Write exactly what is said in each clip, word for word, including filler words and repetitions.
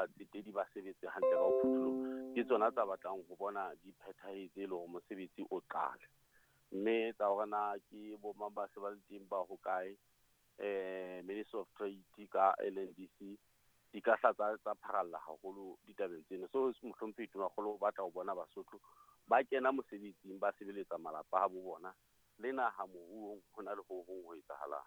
batsetedi ba sebetse hantle ka ho phutholoha, ke tsona tsa batlang ho bona di phethahetse le hore mosebetsi o qale. Mme tsa hore na ke bo mang ba se ba le teng ba hokae, eh Ministry of Trade ka L N D C di ka hla tsa, tsa pharalla haholo ditabeng tsena. So mohlomphehi Tonakgolo o batla ho bona Basotho ba kena mosebetsing, ba sebeletsa malapa a bo bona le naha moruong ho na le ho hong ho etsahalang.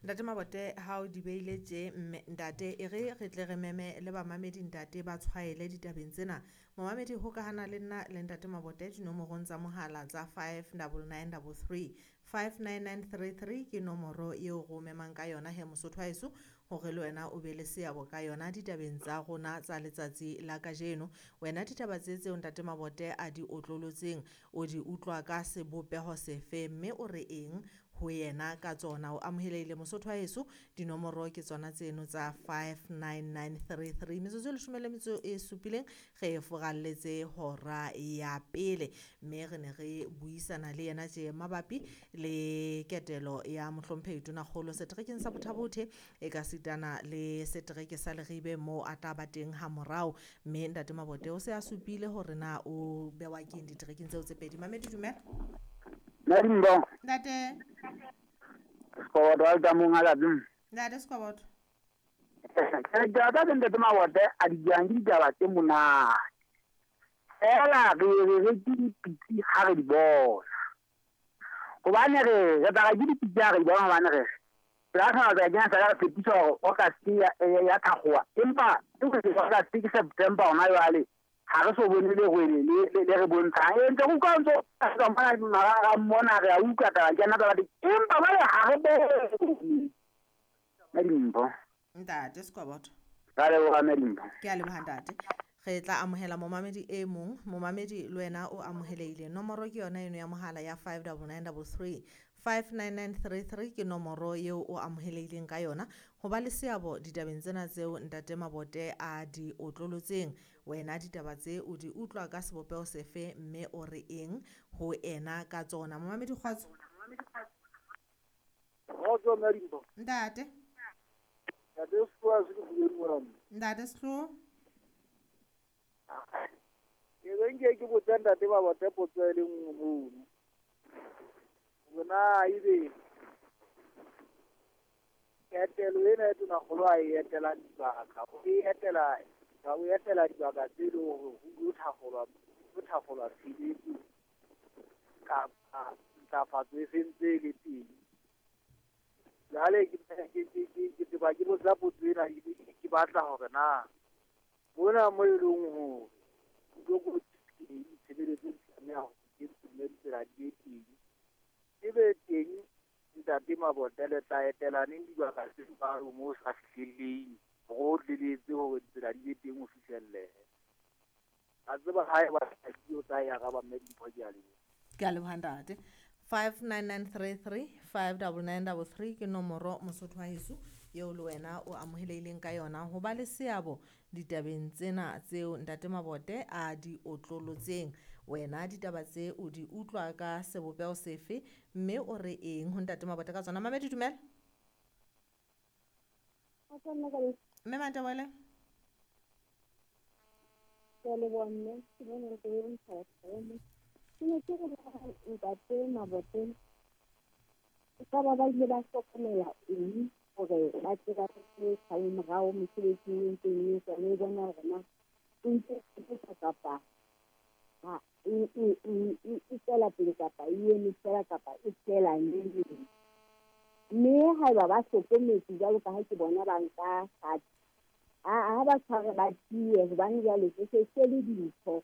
Ntate Mabote, ha o di beile tje, mme ntate e re re tle re meme le bamamedi ntate ba tshwaele ditabeng tsena. Momamedi hokahana le nna le ntate Mabote dinomorong tsa mohala tsa five double nine double three, five nine nine three three ke nomoro eo re o memang ka yona he Mosotho wa heso, hore le wena o be le seabo ka yona ditabeng tsa rona tsa letsatsi la kajeno. Wena ditaba tse tseo ntate Mabote a di otlolotseng o di utlwa ka sebopeho sefe, mme o re eng ho yena ka tsona? O amohelehile Mosotho wa heso, dinomoro ke tsona tseno tsa five nine nine three three. Metsotso e leshome le metso e supileng re e foralletse hora ya pele, mme re ne re buisana le yena tje mabapi le ketelo ya mohlomphehi Tonakgolo seterekeng sa Botha-Bothe e ka sitana le setereke sa Leribe moo a tla ba teng ha morao. Mme ntate Mabote o se a supile hore na o bewa keng diterekeng tseo tse pedi. Mamedi, dumela. Madimbo. Ntate. Sikoboto wa tsa monga la bim. Ntate Sikoboto. Ke tla tsa ntate Mabote a di jang ditaba tse monate. Fela re re re ke dipitsi ha re di bona. Hobane re re tla ke dipitsi ha re di bona, hobane re re tla tla kena sa re tshepiso hore August ya, ya, ya thakgowa. Empa ke re August ke September hona jwale, ha re so bone le rwele le, le, le re bontshang. E ntse go utlwa ntse o mona mara mona re a utlwa taba ke nna taba teng. Empa jwale ha re bone. Madimpo. Ntate Sikoboto. Ra leboha Madimpo. Ke a leboha ntate. Re tla amohela momamedi e mong. Momamedi le wena o amohelehile. Nomoro ke yona eno ya mohala ya five double nine double three, five nine nine three three ke nomoro eo o amohelehileng ka yona ho ba le seabo ditabeng tsena tseo ntate Mabote a di otlolotseng. Wena ditaba tse o di utlwa ka sebopeho sefe, mme o re eng ho ena ka tsona? Momamedi kgotso. Kgotso, Madimpo. Ntate. Ntate Sehloho, se ke bue mona. Ntate Sehloho. Ke be nke ke botsa ntate Mabote potso e le nngwe mono. Hore na ebe ketelo ena e Tonakgolo a e etelang dibaka, o e etela, o etela dibaka tse leng hore ho tlo thakgolwa, ho thakgolwa tshebetso kapa ntlafatso e sentse e le teng. Jwale ke, ke, ke, ke, ke tseba ke botsa potso ena, ke, ke batla hore na mona mo e leng hore ho tlo teng tshebeletso di tlameha hore ke mme ditsela di be teng, e be teng ntate Mabote le tla etela neng dibaka tse jwalo moo sa fihlelleng hore o tleletse hore ditsela di be teng ho fihlellehe. A tseba ha eba di o tla e araba mme Dimpho, ke a leboha. Ke a leboha ntate. five nine nine three three, five double nine double three ke nomoro Mosotho wa heso eo le wena o amohelehileng ka yona ho ba le seabo ditabeng tsena tseo ntate Mabote a di otlolotseng. Wena ditaba tse o di utlwa ka sebopeho sefe, mme o re eng ho ntate Mabote ka tsona? Mamedi, dumela. Mme Mantebele. Ke a leboha mme, ke bone re ke ntsha mme. Ke ne ke re ntate Mabote e ka ba ba ile ba hlokomela eng hore ba tle ba tle sale morao mosebetsing e ntseng e etswa, le bona hore na e ntse e etsa kapa ha e, e, e, e, e tswela pele kapa e eme fela kapa e fela neng. Mme haeba ba hlokometse jwalo ka ha ke bona ba nka kgato, ha, ha ba tshware ba tiye, hobane jwale se se se le dintho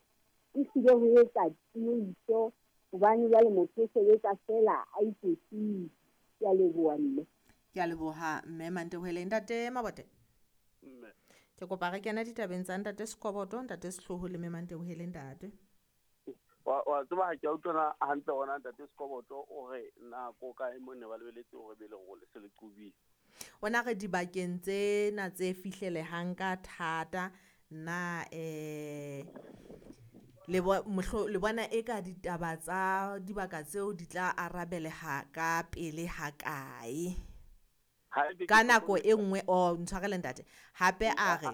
e hlile ho etsa tiiso, hobane jwale motho o sebetsa fela a iketlile. Ke a leboha mme. Ke a leboha mme Mantebohele. Ntate Mabote. Mme. Ke kopa re kena ditabeng tsa ntate Sikoboto, ntate Sehloho le mme Mantebohele ntate. Wa, wa tseba ha ke a utlwana hantle hona ntate Sikoboto o re nako kae mo ne ba lebeletse hore be le hore le se le qobile. Ona re dibakeng tsena tse fihlelehang ka thata na, eh, le bo-, mohlo-, le bona eka ditaba tsa dibaka tseo di tla arabeleha ka pele ha kae? Ha ebe Ka ke nako hlokometse e nngwe, oh, ntshwarele ntate. Hape a re